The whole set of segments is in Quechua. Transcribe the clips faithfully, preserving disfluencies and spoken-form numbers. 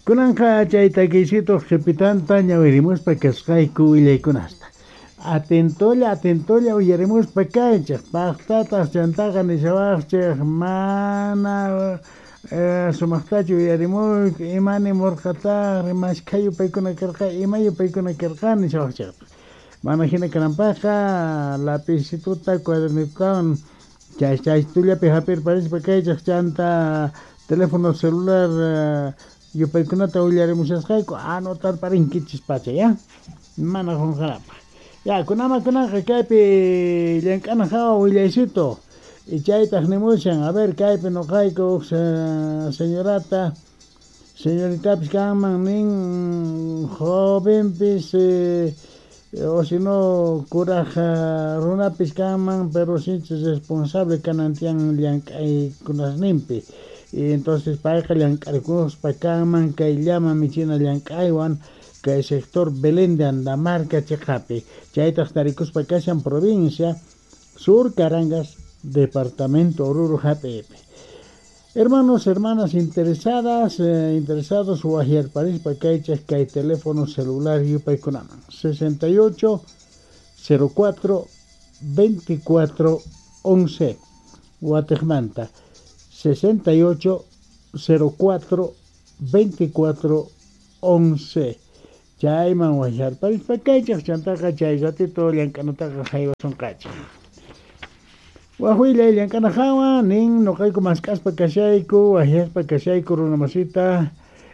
Kunanqa chay takiysitu qhipitanta ñawirimuspa kasqayku willaykunasta. Atentolla, atentolla uyarimuspa kaychik, paqtataq chantaqa nishawaqchik mana eh, sumaqtachu uyarimuyku, ima nimurqataq, mashkha yupaykuna karqa, ima yupaykuna karqa nishawaqchikta. Mana hina kananpaqqa lapicituta, cuadernitutawan chay chaytullapi hap'irparispa kaychik chanta teléfono celular eh, yupaykunata willarimushasqayku anotarparinkichis pacha ya mana qunqanapaq. Ya kunama kunanqa kaypi llank'ana hawa willaysitu y chaytaq nimushan a ver kaypi nuqayku huk señorata señoritapis kanman nin jovenpis eh, o si no kuraq runapis kanman pero sinchi responsable kanan tiyan llank'aykunasninpi y entonces payqa llank'arikuspa kanman kay llama michina llank'aywan kay sector Belén de Andamarca chiqapi chaytaq tarikuspa kashan provincia Sur Carangas departamento Oruro hap'ipi. Hermanos, hermanas interesadas, eh, interesados waqyarparispa kaychik kay teléfono celular yupaykunaman sesenta y ocho cero cuatro veinticuatro once watiqmanta sesenta y ocho cero cuatro veinticuatro once chayman waqyarparispa kaychik chantaqa chay ratito llank'anataqa haywasunqachik. Waqwillay llank'ana hawa nin nuqayku mask'aspa kashayku waqyaspa kashayku runa masita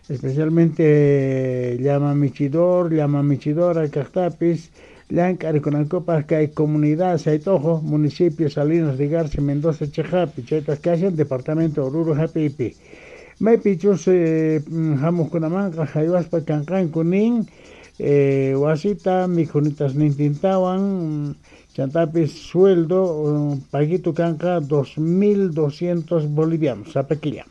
especialmente llama michidor, llama michidora kaqtapis llank'arikunankupaq kay comunidad Saytojo, municipio Salinas de Garza, Mendoza chiqapi chaytaq kashan departamento Oruro hap'ipi. Maypichus eh, hamuqkunamanqa haywaspa kanqanku nin eh, wasita mikhunitas nintintawan chantapis sueldo paguito kanqa dos mil doscientos bolivianos sapa killa.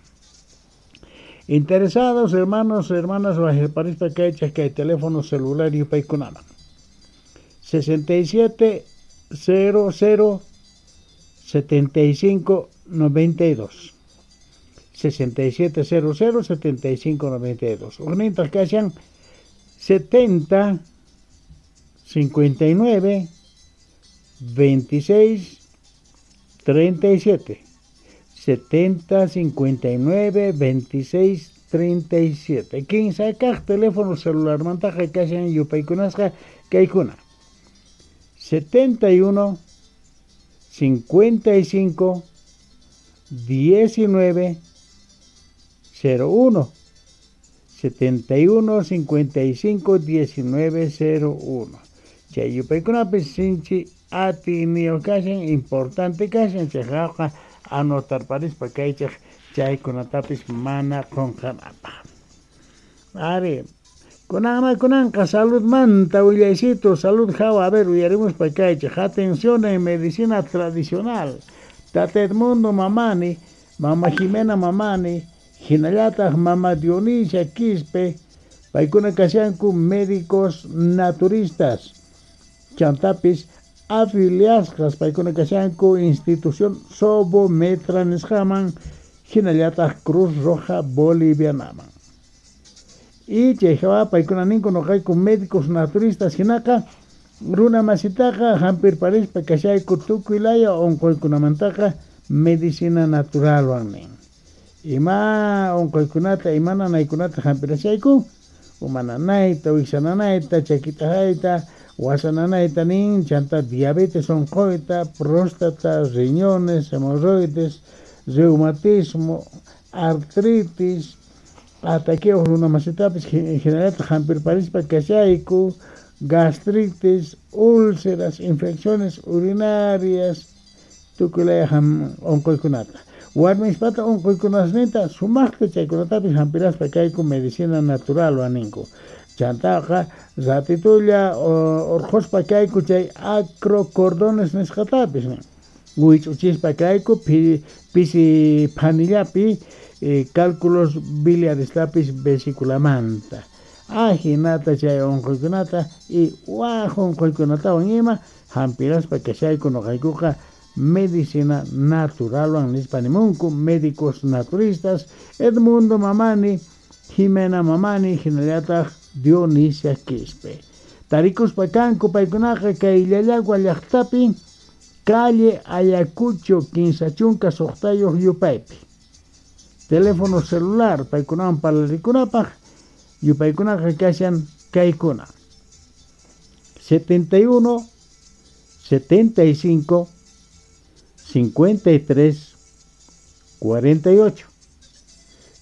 Interesados hermanos, hermanas waqyarparispa kaychik kay teléfono celular yupaykunaman sesenta y siete cero cero setenta y cinco noventa y dos sesenta y siete cero cero setenta y cinco noventa y dos Uqnintaq kashan setenta cincuenta y nueve veintiséis treinta y siete setenta cincuenta y nueve veintiséis treinta y siete Kinsa kaq teléfono celular mantaqa kashan yupaykunasqa kaykuna setenta y uno cincuenta y cinco diecinueve cero uno setenta y uno cincuenta y cinco diecinueve cero uno Chay yupaykunapis sinchi atiyniyuq kashan importante kashan chayqa anotarparispa kaychik chaykunatapis mana qunqanapaq. Ari kunanma kunanqa salud manta willaysitu salud hawa a ver uyarimuspa kaychik atención en medicina tradicional Tata Edmundo Mamani, Mama Jimena Mamani, hinallataq Mama Dionisia Quispe paykuna kashanku médicos naturistas chantapis afiliasqas paykuna kashanku institución Sobometra nisqaman hinallataq Cruz Roja Bolivianaman. Y chay hawa paykuna ninku nuqayku médicos naturistas hinaqa runa masitaqa hampirparispa kashayku tukuy laya unquykunamantaqa medicina naturalwan nin. Ima unquykunata ima nanaykunata hampirashayku uma nanayta, wiksa nanayta, chakita hayta, wasa nanayta nin, chanta diabetes unquyta, próstata, riñones, hemorroides, reumatismo, artritis, ataqueos runa masitapis hinallataq hampirparispa kashayku, gastritis, úlceras, infecciones urinarias, tukuy laya unquykunata. Warmispata unquykunasninta sumaqta chaykunatapis hampiraspa kayku medicina naturalwan ninku. Chantaqa ratitulla urquspa kayku chay acrocordones nisqatapis nin. Wich'uchispa kayku pisi phanillapi eh, cálculos biliarestapis vesiculamanta. Ajinata chay unquykunata y waj unquykunatawan ima hampiraspa kashayku nuqaykuqa medicina naturalwan nispa nimunku médicos naturistas Edmundo Mamani Jimena Mamani hinallataq Dionisia Quispe. Tarikuspa kanku paykunaqa kay Llallagua llaqtapi calle Ayacucho kinsa chunka suqtayuq yupaypi. Teléfono celular paykunawan parlarikunapaq yupaykunaqa kashan kaykuna setenta y uno, setenta y cinco, cincuenta y tres, cuarenta y ocho,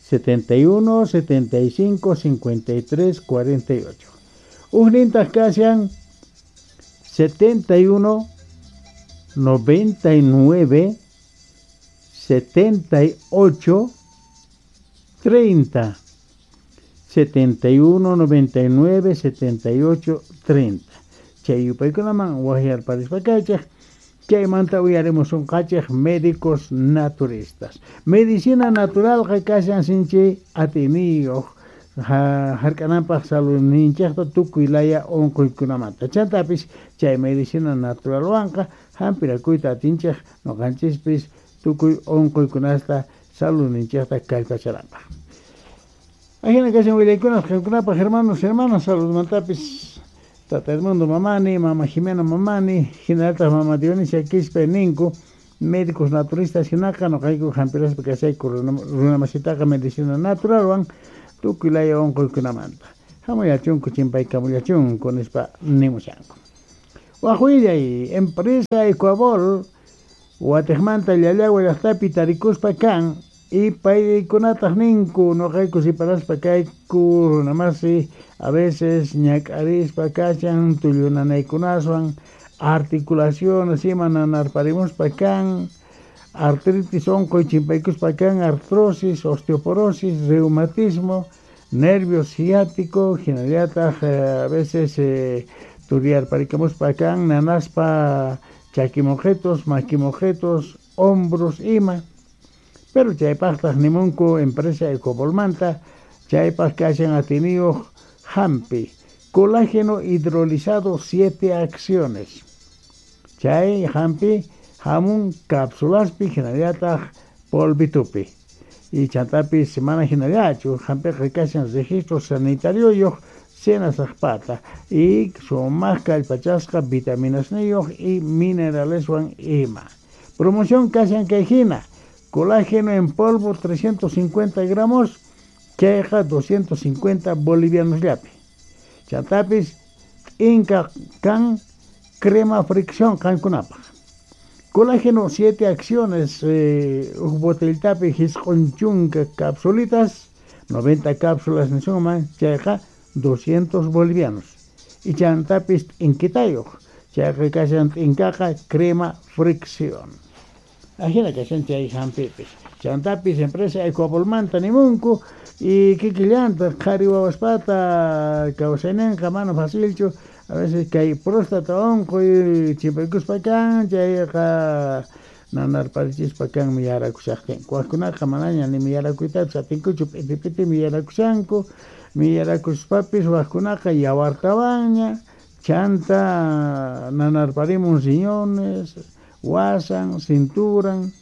setenta y uno, setenta y cinco, cincuenta y tres, cuarenta y ocho. Ujnintaq kashan setenta y uno, noventa y nueve, setenta y ocho, treinta, setenta y uno, noventa y nueve, setenta y ocho, treinta. Chay yupaykunaman waqyarparispa kaychik, chaymanta uyarimusun qachik médicos naturistas. Medicina naturalqa kashan sinchi atiniyuq hark'ananpaq saludninchikta tukuy laya unquykunamanta. Chantapis chay medicina naturalwanqa hampirakuyta atinchik nuqanchispis tukuy unquykunasta saludninchikta kallpachanapaq. Ajina kashan willaykunas qamkunapaq hermanos, hermanas, saludmantapis Tata Edmundo Mamani, Mama Jimena Mamani, hinallataq Mama Dionisia Quispe ninku, médicos naturistas hinaqa nuqayku hampiraspa kashayku runamasitaqa medicina naturalwan tukuy laya unquykunamanta. Hamuyachunku chimpaykamullachunku nispa nimushanku. Waq willay, empresa Ecuabol watiqmanta Llallagua llaqtapi tarikuspa kan y paykunataq ninku nuqayku siparaspa kayku runamasi a veces ñak'arispa kashan tullunanaykunaswan articulaciones ima nanarparimuspa kan artritis unquy chimpaykuspa kan artrosis, osteoporosis, reumatismo, nervio ciático, hinallataq eh, a veces eh, turiyarparikamuspa kan nanaspa chakimojetos, maquimojetos, hombros ima. Pero chaypaqtaq nimunku empresa Ecobolmanta, chaypaq kashan atiniyuq hampi, colágeno hidrolizado siete acciones. Chay hampi hamun cápsulaspi hinallataq polvitupi. Y chantapis semana hinallachu, hampiqa kashan registro sanitario senasaqpata y sumaq kallpachasqa vitaminasniyuq y mineraleswan ima. Promoción kashan kay hina. Colágeno en polvo trescientos cincuenta gramos, chayqa doscientos cincuenta bolivianos llapi. Chantapis inca kan crema fricción qankunapaq. Colágeno siete acciones, eh, uj botellitapi hisq'un chunka capsulitas, noventa cápsulas nisunman, chayqa doscientos bolivianos. Y chantapis inkitayuq, chayqa kashan inkaqa crema fricción. Ajina kashan chay hampipis. Chantapis empresa Ecuabolmanta nimunku y kikillanta qhari wawaspata kawsayninqa mana facilchu, a veces kay próstata unquy chimpaykuspa kan chayqa nanarparichispa kan miyarakushaqtinku. Waqkunaqa manaña ni miyarakuytapis atinkuchu, p'iti p'iti miyarakushanku, miyarakushpapis waqkunaqa yawartawanña, chanta nanarparimun riñones, wasan, cinturan,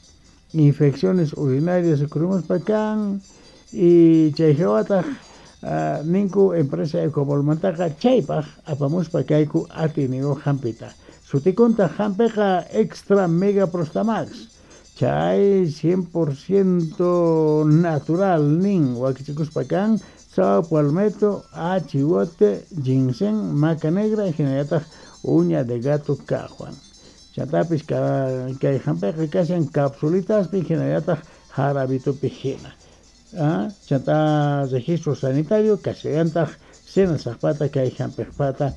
infecciones urinarias ukurimuspa kan y chay hawataq uh, ninku empresa Ecobolmantaqa chaypaq apamuspa kayku atiniyuq hampita. Sutikunta hampiqa extra mega prostamax, chay cien por ciento natural nin wakichikuspa kan sao palmetto, achiwote, ginseng, maca negra hinallataq uña de gato kaqwan. Chantapis kay hampiqa kashan capsulitaspi hinallataq jarabitupi hina. Ah, chanta registro sanitario kashallantaq senasaqpata kay hampiqpata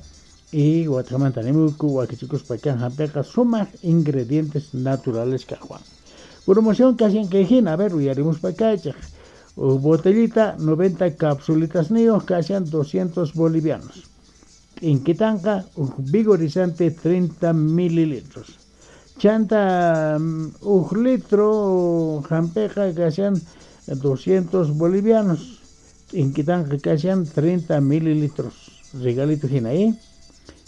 y watqamanta nimuku wakichikuspa kan hampiqa sumaq ingredientes naturales kaqwan. Promoción kashan kay hina, a ver uyarimuspa kaychik. Botellita noventa capsulitas niyuq kashan doscientos bolivianos. Inquitanqa uj vigorizante treinta mililitros. Chanta uj litro hampiqa kashan doscientos bolivianos. Inquitanqa kashan treinta mililitros. Regalito hina, ¿eh?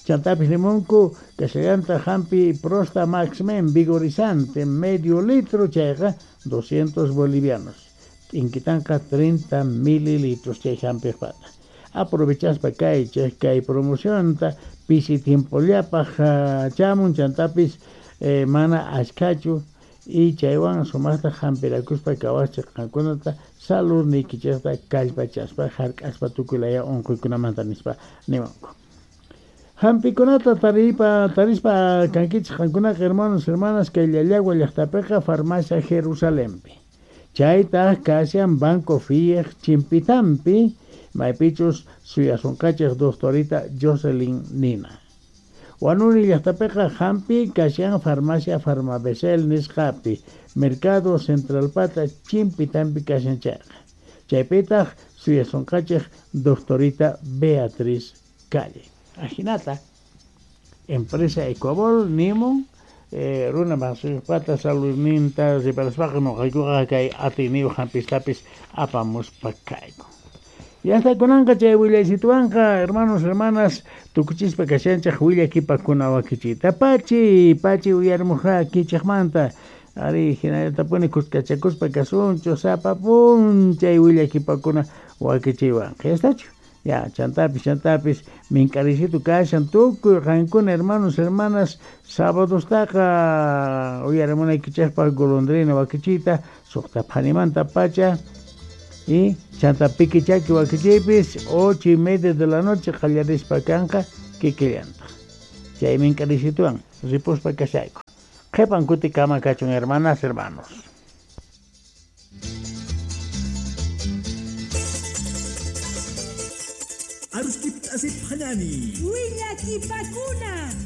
Chantapis limonku kashallanta hampi prosta maxmen vigorizante medio litro chayqa doscientos bolivianos. T'inkitanqa treinta mililitros chay hampiqpata. Aprovechaspa kaychik kay promocionta pisi tiempollapaq chamun chantapis eh, mana ashkachu y chaywan sumaqta hampirakuspa kawaschik qankunata salud niykichikta kallpachaspa hark'aspa tukuy laya unquykunamanta nispa niwanku. Hampikunata taripa tarispa kankichik qankunaqa hermanos hermanas kay Llallagua llaqtapiqa farmacia Jerusalempi. Chaytaq kashan Banco Fiej Chimpitampi maypichus suyasunqachik doctorita Jocelyn Nina. Huanuni llaqtapiqa hampi kashan farmacia Farmabesel nisqapi Mercado Centralpata Chimpitampi kashan chayqa. Chaypitaq suyasunqachik doctorita Beatriz Calle. Ajinata empresa Ecuabol nimun eh, runa masuypata saludninta riparaspaqa nuqaykuqa kay atiyniyu hampistapis apamuspa kayku. Ya hasta kunanqa chay willaysituwanqa hermanos hermanas tukuchispa kashanchik willakipakuna wakichiyta pachi pachi uyarimuqa kichikmanta ari hinallatapuni kuskachakuspa kasunchu sapa p'unchay willakipakuna wakichiywanqa yastachu. Ya, chantapis, chantapis, mink'arisitu kashan tukuy qankuna hermanos, hermanas, sábadostaqa uyarimunaykichikpaq golondrina wakichiyta suqta phanimanta pacha y chanta pikichaki wakichiypis ocho y media de la noche qallarispa kanqa kikillantaq. Chay mink'arisituwan ripuspa kashayku. Qhipan kuti kama kachun hermanas, hermanos. Aruskip asip hanani. Willakipakuna.